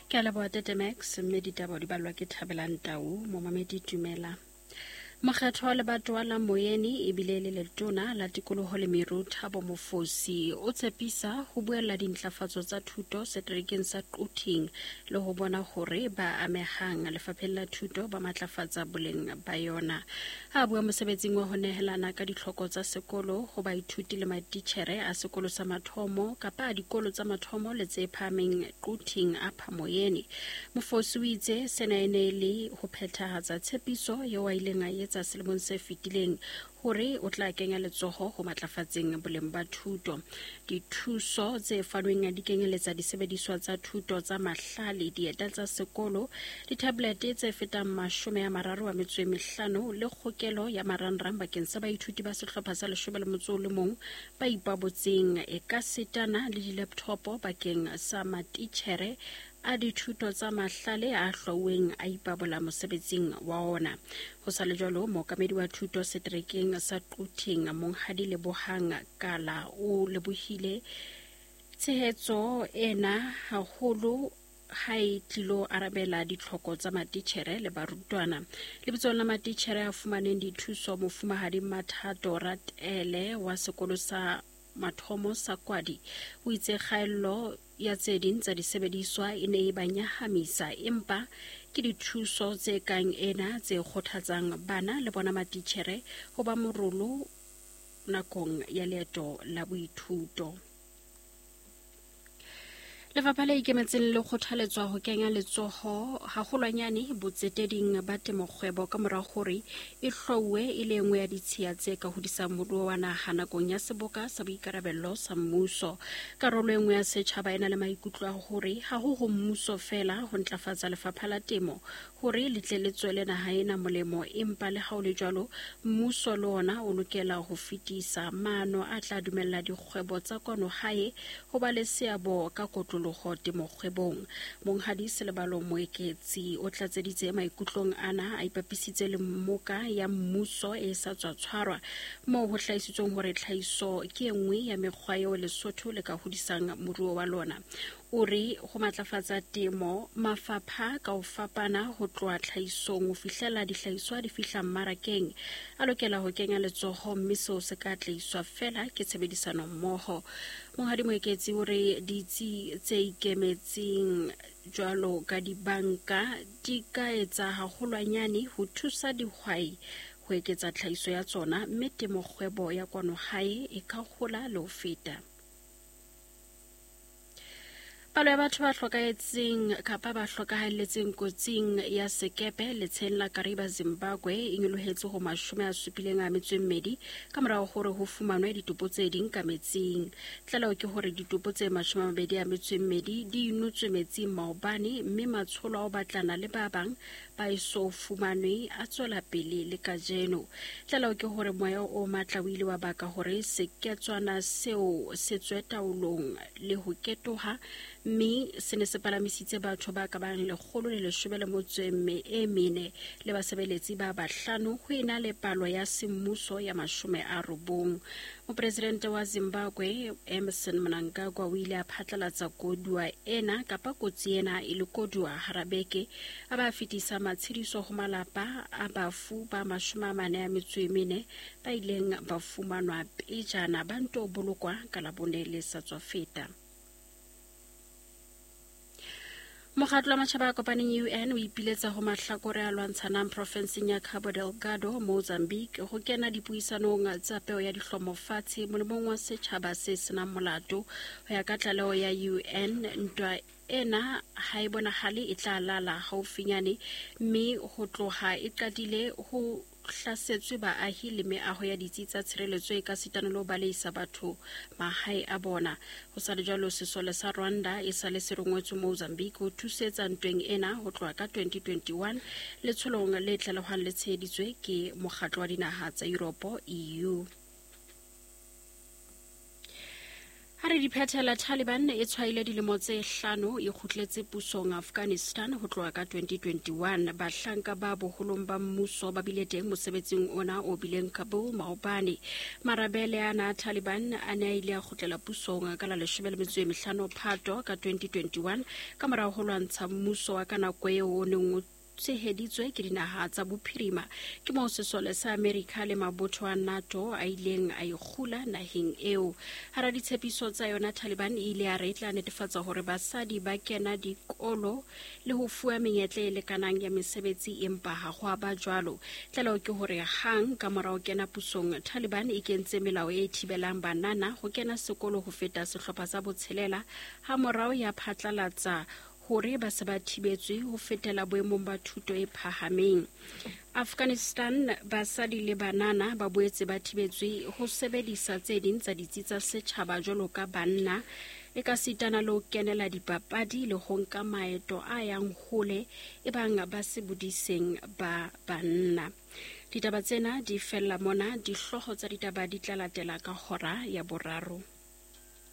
Ke a leboha Tete Max, mme ditaba di balwa ke Thabelang Tau. Momamedi dumela. Mokgetho wa lebatowa la Moyeni ebile le letona la tikoloho le meru Thabo Mofosi o tshepisa ho buella dintlafatso tsa thuto seterekeng sa Quthing le ho bona hore ba amehang lefapheng la thuto ba matlafatsa boleng ba yona. Ha a bua mosebetsing wa ho nehelana ka ditlhoko tsa sekolo ho baithuti le matitjhere a sekolo sa mathomo kapa a dikolo tsa mathomo le tse phahameng Quthing Upper Moyeni, Mofosi o itse sena e ne e le ho phethahatsa tshepiso eo a ileng a e etsa selemong se fetileng hore o tla kenya letsoho ho matlafatseng boleng ba thuto. Dithuso tse fanweng di kenyeletsa disebediswa tsa thuto tsa mahlale, dieta tsa sekolo, dithabolete tse fetang 35 le kgokelo ya marangrang bakeng sa baithuti ba sehlopha sa 11 ba ipabotseng ekasitana le dilepthopo bakeng sa matitjhere a dithuto tsa mahlale a hlwauweng a ipabola mosebetsing wa ona. Ho sa le jwalo, mookamedi wa thuto seterekeng sa Quthing, Monghadi Lebohang Kala, o lebohile tshehetso ena haholo ha e tlilo arabela ditlhoko tsa matitjhere le barutwana. Lebitsong la matitjhere a fumaneng dithuso, Mofumahadi Mathato Ratele wa sekolo sa mathomo sa Kwadi o itse kgaello ya tse ding tsa disebediswa e ne e ba nyahamisa, empa ke dithuso tse kang ena tse kgothatsang bana le bona matitjhere ho ba morolo nakong ya leeto la boithuto. Lefapha le ikemetseng le kgothaletswa ho kenya letsoho haholwanyane botseteding ba temokgwebo ka mora hore e hlwauwe e le nngwe ya ditshiya tse ka hodisang moruo wa naha nakong ya seboka sa boikarabello sa mmuso. Karolo e nngwe ya setjhaba e na le maikutlo a hore ha ho ho mmuso feela ho ntlafatsa lefapha la temo hore le tle le tswele naha ena molemo, empa le ha o le jwalo mmuso le ona o lokela ho fetisa maano a tla dumella dikgwebo tsa kwano hae ho ba le seabo ka kotloloho temokgwebong. Monghadi Selebalo Moeketsi o tlatseditse maikutlong ana a ipapisitse le mmoka ya mmuso e sa tswa tshwarwa moo ho hlahisitsweng hore tlhahiso ke e nngwe ya mekgwa eo Lesotho le ka hodisang moruo wa lona. O re ho matlafatsa temo, mafapha ka ho fapana ho tloha tlhahisong ho fihlela dihlahiswa di fihla mmarakeng a lokela ho kenya letsoho mme seo se ka atlehiswa feela ke tshebedisano mmoho. Monghadi Moeketsi o re ditsi tse ikemetseng jwalo ka dibanka di ka etsa haholwanyane ho thusa dihwai ho eketsa tlhahiso ya tsona mme temokgwebo ya kwano hae e ka hola le ho feta. Palo ya batho ba hlokahetseng kapa ba hlokahalletseng kotsing ya sekepe letsheng la Kariba Zimbabwe e nyolohetse ho 72 ka morago hore ho fumanwe ditopo tse ding ka metsing. Tlaleho ke hore ditopo tse 22 di inotswe metsing maobane mme matsholo a ho batlana le ba bang ba eso fumanwe a tswela pele le kajeno. Tlaleho ke hore moya o matla o ile wa baka hore seketswana seo se tswe taolong le ho ketoha mme se ne se palamisitse batho ba ka bang 114 le basebeletsi ba bahlano ho ena le palo ya semmuso ya 90. Mopresidente wa Zimbabwe Emmerson Mnangagwa o ile a phatlalatsa koduwa ena kapa kotsi ena e le koduwa hara beke, a ba fetisa matshediso ho malapa a bafu ba 44 ba ileng ba fumanwa pejana ba nto bolokwa ka Labone le sa tswa feta. Mokgatlo wa Matjhaba a Kopaneng UN o ipiletsa ho mahlakore a lwantshanang profenseng ya Cabo Delgado, Mozambique, ho kena dipuisanong tsa peo ya dihlomo fatshe molemong wa setjhaba se senang molato. Ho ya ka tlaleho ya UN, ntwa ena ha e bonahale e tla lala haufinyane mme ho tloha e qadile ho hlasetswe baahi le meaho ya ditsi tsa tshireletso e ka sitana le ho baleisa batho mahae a bona. Ho sa le jwalo, sesole sa Rwanda e sa le se rongwetswe Mozambique ho thusetsa ntweng ena ho tloha ka 2021 letsholong le tlalehwang le tsheheditswe ke Mokgatlo wa Dinaha tsa Yuropo, EU. Ha re di phethela, Taliban e tshwaile dilemo tse hlano e kgutletse pusong Afghanistan ho tloha ka 2021. Bahlanka ba boholong ba mmuso ba bile teng mosebetsing ona o bileng Kabul maobane. Marabele ana a Taliban a ne a ile a kgutlela pusong ka la 15 Phato ka 2021 ka morao ho lwantsha mmuso wa ka nako eo o neng o tsheheditswe ke dinaha tsa bophirima. Ke moo sesole sa Amerika le mabotho a NATO a ileng a ikgula naheng eo. Hara ditshepiso tsa yona, Taliban e ile ya re e tla netefatsa hore basadi ba kena dikolo le ho fuwa menyetla e lekanang ya mesebetsi, empa ha ho a ba jwalo. Tlaleho ke hore hang ka mora ho kena pusong, Taliban e kentse melao e thibelang banana ho kena sekolo ho feta sehlopha sa botshelela, ha morao ya phatlalatsa hore ba se ba thibetswe ho fetela boemong ba thuto e phahameng. Afghanistan, basadi le banana ba boetse ba thibetswe ho sebedisa tse ding tsa ditsi tsa setjhaba jwalo ka banna, e ka sitana le ho kenela dipapadi le ho nka maeto a yang hole e bang ba se bodiseng ba banna. Ditaba tsena di fella mona, dihlooho tsa ditaba di tla latela ka hora ya boraro.